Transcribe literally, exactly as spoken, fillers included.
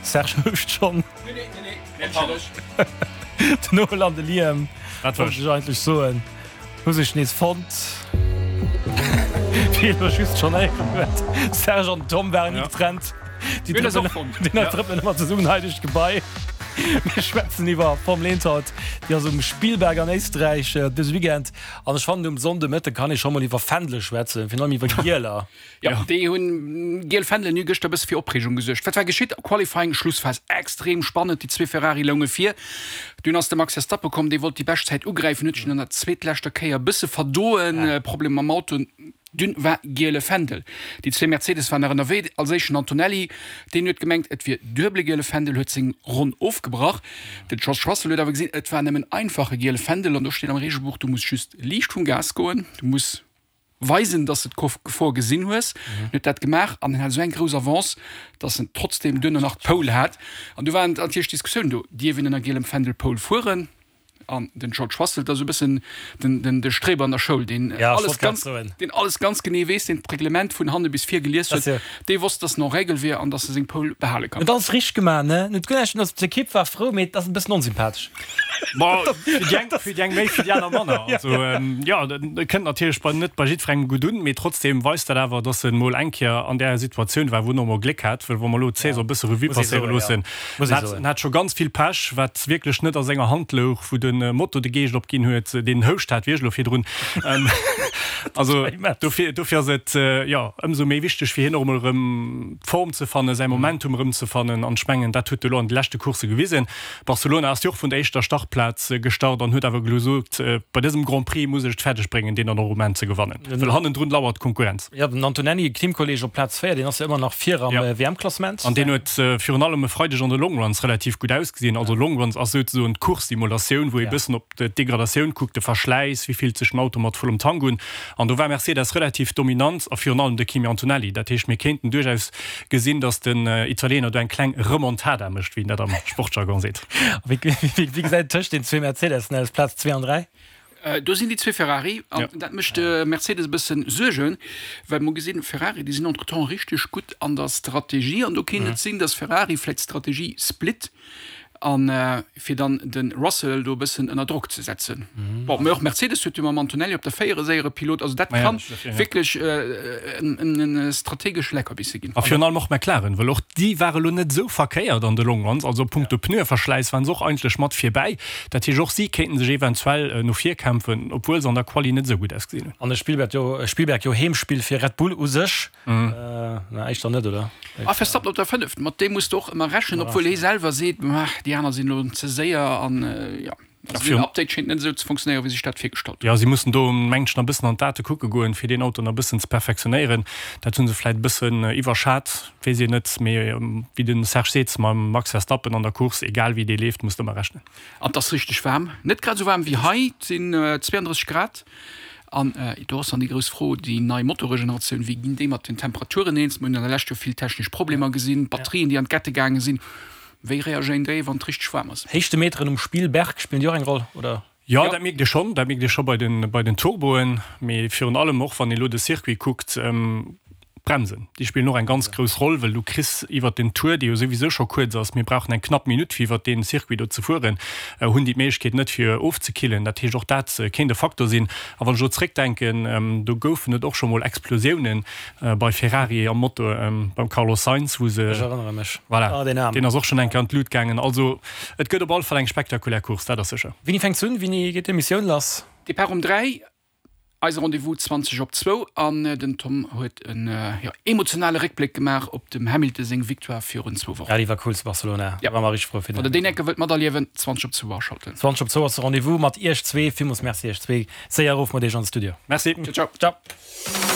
Serge houscht schonn. Den Noel an de Liam, Dat war wollt ech eigentlech soen, hu sech nees fonnt. Wéi een elo just schonn héieren huet, Serge an Tom waren ni getrennt. Déi trëppelen, déi trëppelen ëmmer zesummen hei duerch d'Gebai. Mir schwätzen iwwer Formel eent haut. Déi ass um Spielberg an Éisträich dëse Weekend. An ech fannen, um Sonnde Mëtte kann ee scho mol iwwer Fändele schwätzen, virun allem iwwer Gieler. Jo, déi hunn, giel Fändelen hu gëschter e bësse fir Opreegung gesuergt. Wat war geschitt? Qualifying, Schlussphas, extrem spannend, déi zwee Ferrari lounge vir. Dunn ass de Max Verstappen komm, dee wollt déi Beschtzäit ugräifen, huet sech an der zweetleschter Kéier e bësse verdoen, Problem mam Auto. Dunn war giele Fändel. Déi zwee Mercedes waren nach ënnerwee. Als éischten Antonelli, deen huet gemengt, et wier duebele giele Fändel, huet seng Ronn ofgebrach. Den George Russell huet awer gesinn, et war nëmmen einfache giele Fändel an do steet am Reegelbuch, du muss just liicht vum Gas goen, du muss weisen, dass de d'Gefor gesinn hues. En huet dat gemaach an en hat esou eng grouss Avance, dass en trotzdeem duerno nach d'Pole hat. An du waren natierlech Diskussiounen do, dierf een ënner gielem Fändel Pole fueren? An den George Russell, dat ass esou e bëssen den, den, de Streber an der Schoul, deen Ja, ech alles wollt grad ganz, soen. deen alles ganz genee weess, deen d'Reglement vun hanne bis vir gelies Das huet, jo. dee wosst, dass en en règle wier an dass e seng Pole behale kann. Huet alles richteg gemaach, ne? En huet guer näischt, also d'Ekipp war frou, mee et ass e bëssen onsympathesch. Bon, fir déi eng, fir déi eng méi, fir déi aner manner. Also, jo, dat kënnt natierlech bei, net bei jiddwerengem gutt un, mee trotzdem weist dat awer, dass en mol eng Kéier an där Situatioun war, wou en och mol Gléck hat, well wa mer elo d'Saison e bësse Revue Muss ee passéiere soen, jo. loossen, Muss ee en hat, soen. en hat scho ganz vill Pech, wat wierklech net a senger Hand louch, wou de Moto de Geescht opginn huet, deen Houscht hat wierklech elo virdrun. Also dofir, dofir ass et jo ëmsou méi wichteg fir hien och emol erëm d'Form ze fannen, säi Momentum erëm ze fannen. An ech mengen, dat huet e elo an de leschte Coursse gewisen. Barcelona ass jo och vun der éischter Startplaz gestart an huet awer gesot, bei dësem Grand Prix muss ech et fäerdeg bréngen, deen dann och um Enn ze gewannen, well hannendrun lauert d'Konkurrenz. Jo, den Antonelli, Teamkolleeg op Plaz véier, deen ass jo ëmmer nach vir am W M-Klassement. An deen huet virun allem e Freideg an de Longruns relativ gutt ausgesinn. Also Longruns ass souzesoen d'Course-Simulatioun, wou ee bëssen op d'Degradatioun kuckt, de Verschläiss, wéi fillt sech den Auto mat vollem Tank un. An do war Mercedes relativ dominant a virun allem de Kimi Antonelli. Dat heescht, mir kéinten duerchaus gesinn, datt den Italiener do eng kleng Remontada mécht, wéi een dat am Sportjargon seet. A wéi gesäit et tëscht den zwee Mercedessen aus, Plaz zwee an dräi? Do sinn déi zwee Ferrari an dat mécht de Mercedes e bëssen Suergen, well mer gesinn, Ferrari, déi sinn entretemps richteg gutt an der Strategie an do kéint et sinn, datt Ferrari vläicht d'Strategie split an fir dann de Russell do e bëssen ënner Drock ze setzen. Bon, mä och Mercedes huet jo mam Antonelli op der véier e séiere Pilot, also dat ka wierklech e strategesch Leckerbisse ginn. A virun allem och McLaren, well och déi ware lo net esou verkéiert an de Longruns, also punkto Pneueverschläiss waren se och eigentlech mat virbäi. Dat heescht, och si kéinten sech eventuell no vir kämpfen, obwuel se an der Quali net esou gutt ausgesinn hunn. An de Spielberg jo, Spielberg jo Heemspill fir Red Bull u sech. Na, éischter net, oder? A Verstappen op der fënnef, mat deem muss de och ëmmer rechnen, obwuel hie selwer seet, déi aner sinn elo ze séier an jo, also den Update schéngt net esou ze funktionéieren, wéi sech dat virgestallt huet. Jo, si mussen do mengen ech nach e bëssen an d'Date kucke goen, fir deen Auto nach e bëssen ze perfektionéieren. Dat hu se vläit e bëssen iwwerschat, weess een net. Mee wéi de Serge seet, mam Max Verstappen an der Course, egal wéi dee leeft, muss de ëmmer rechnen. An et ass richteg waarm, net grad esou waarm wéi hei, et sinn zweeandrësseg Grad. An do ass dann déi grouss Fro, déi nei Motoregeneratioun, wéi ginn déi mat den Temperaturen eens? Mir hunn an der Lescht jo vill technesch Problemer gesinn, Batterien, déi an d'Kette gaange sinn. Wéi reagéieren déi, wann et richteg waarm ass? Héichtemeteren um Spielberg, spillen déi och eng Roll, oder? Jo, dat mierkt ee schonn. Dat mierkt ee scho bei den, bei den Turboen. Mee virun allem och, wann ee elo de Circuit kuckt, d'Bremsen, déi spillen och eng ganz grouss Roll, well du kriss iwwert den Tour, dee jo souwisou scho kuerz ass, mir brauchen eng knapp Minutt, fir iwwert dee Circuit do ze fueren, hunn déi d'Méiglechkeet net, fir ofzekillen. Dat heescht, och dat kéint e Faktor sinn. A wann ech elo zréckdenken, do goufen et och scho mol Explosiounen bei Ferrari am Motor beim Carlos Sainz, wou se. Ech erënnere mech. Voilà, Ah, deen Aarm. deen ass och schonn eng Kéier an d'Lut gaangen. Also et gëtt op alle Fall eng spektakulär Course, dat ass sécher. Wéini fänkt se un? Wéini geet d'Emissioun lass? Depart um dräi. Eise Rendez-vous zwanzeg op zwou an den Tom huet en jo emotionale Réckbléck gemaach op dem Hamilton seng Victoire virun zwou Wochen. Ja, déi war cool zu Barcelona. Ja. War mer richteg frou fir den Wann der deen enke wëllt materliewen, zwanzeg op zwou aschalten. Zwanzeg op zwou ass de Rendez-vous mat iech zwee. Villmools Merci iech zwee. Séier erof mat iech an de Studio. Merci. Ciao, ciao. Ciao.